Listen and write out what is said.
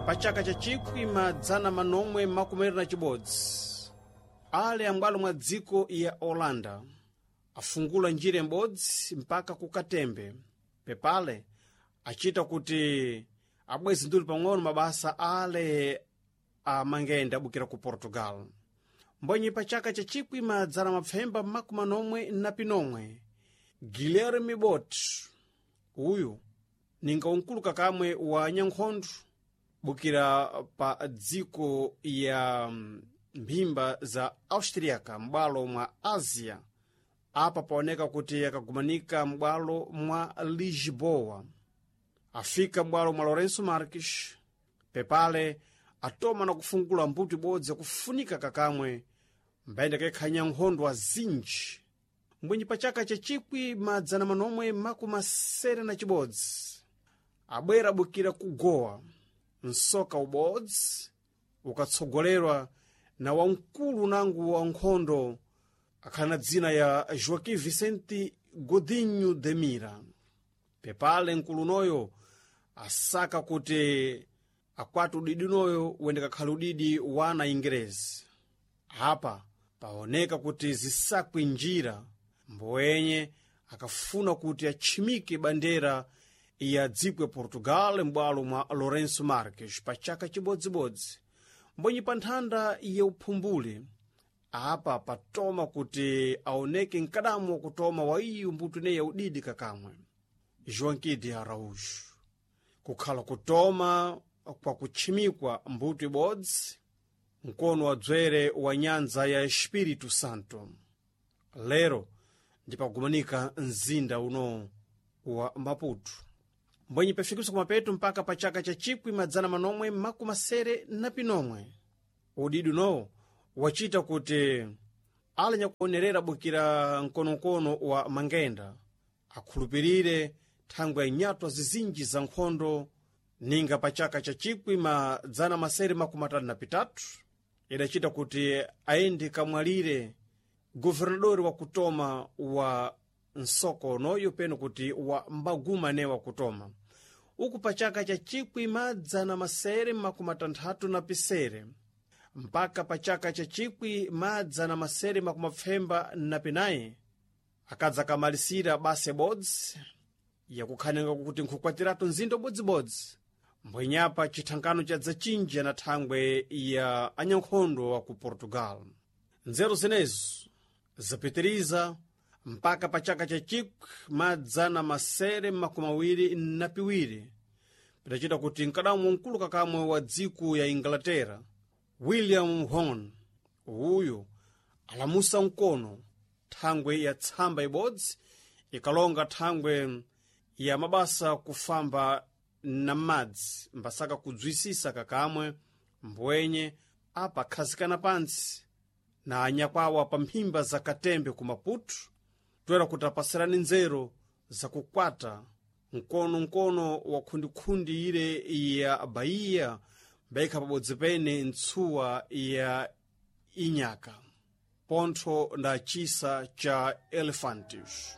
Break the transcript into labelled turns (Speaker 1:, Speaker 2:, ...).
Speaker 1: Pa chaka cha 1921, ale ambwalo mwa dziko ya Holanda afungula njira imodzi mpaka ku Katembe. Pepale achita kuti abwezi nduli pang'ono mabasa ale amangenda abukira ku Portugal. Mbonyi pa chaka cha 1941, Guilherme Bot uyu ninga unkulu kakamwe wa nyankhondo bukira pa dziko ya mphimba za Austriaca m'bwalo mwa Asia. Apa paoneka kuti akagumanika m'bwalo mwa Lisboa, afika m'bwalo mwa Lourenço Marques. Pepale atoma na kufungula mbuto ibodzi yakufunika kakamwe mbayenda kekhanya nkhondo azinji. Mbwenyi pa chaka cha 1961, abwera abukira ku Goa msoka ubodzi ukatsogolerwa na wamkulu nangu wa nkhondo akhala na dzina ya Joaquim Vicente Godinho de Mira. Pepale mkulu unoyo asaka kuti akwati udidi unoyo wendekakhala udidi wa ana Ingerezi. Apa paoneka kuti zisakwe njira, mboyenye akafuna kuti atchimike bandera ya dziko ya Portugal m'bwalo mwa Lourenço Marques pa chaka chibodzibodzi. Mbonyi pa nthanda ya uphumbuli, apa patoma kuti aoneke mkadamu wakutoma wa iyo mbuto ineyi ya udidi kakamwe Joaquim de Araújo kukhala kutoma kwa kutchimikwa mbuto ibodzi mkono wa dzwere wa nyanza ya Espírito Santo. Lero ndipagumanika mzinda uno wa Maputo. Mbwenyi pafikiswa kumapeto mpaka pa chaka cha 1971, udidi unowo wachita kuti alanyakuonerera bukira mkonomkono wa mangenda akhulupirire thangwe ya nyatwa zizinji za nkhondo, ninga pa chaka cha 1933 idachita kuti aende kamwalire guvernadori wakutoma wa nsoko unoyo, peno kuti wa mbaguma ne wakutoma uku pa chaka cha 1967 mpaka pa chaka cha 1994, akadza kamalisira basa ibodzi yakukhanenga kuti nkukwatiratu mzinda ubodzibodzi. Mbwenyapa chithankano cha dzachinji na thangwe ya anyankhondo wa ku Portugal. Nzeru zinezo zapitiriza mpaka pa chaka cha 1922, pidachita kuti mkadamu mkulu kakamwe wa dziko ya Inglaterra William Horn uyu alamusa mkono thangwe ya tsamba ibodzi ikalonga thangwe ya mabasa kufamba na madzi mbasaka kudzwisisa kakamwe. Mbwenye apa akhazikana pantsi na anyakwawa pa mphimba za Katembe ku Maputo, toera kuti apasirane nzeru zakukwata mkonomkono wa khundikhundi ile ya Bahia mbaikha pabodzi pene ntsuwa ya Inyaka pontho nda chisa cha Elefantes.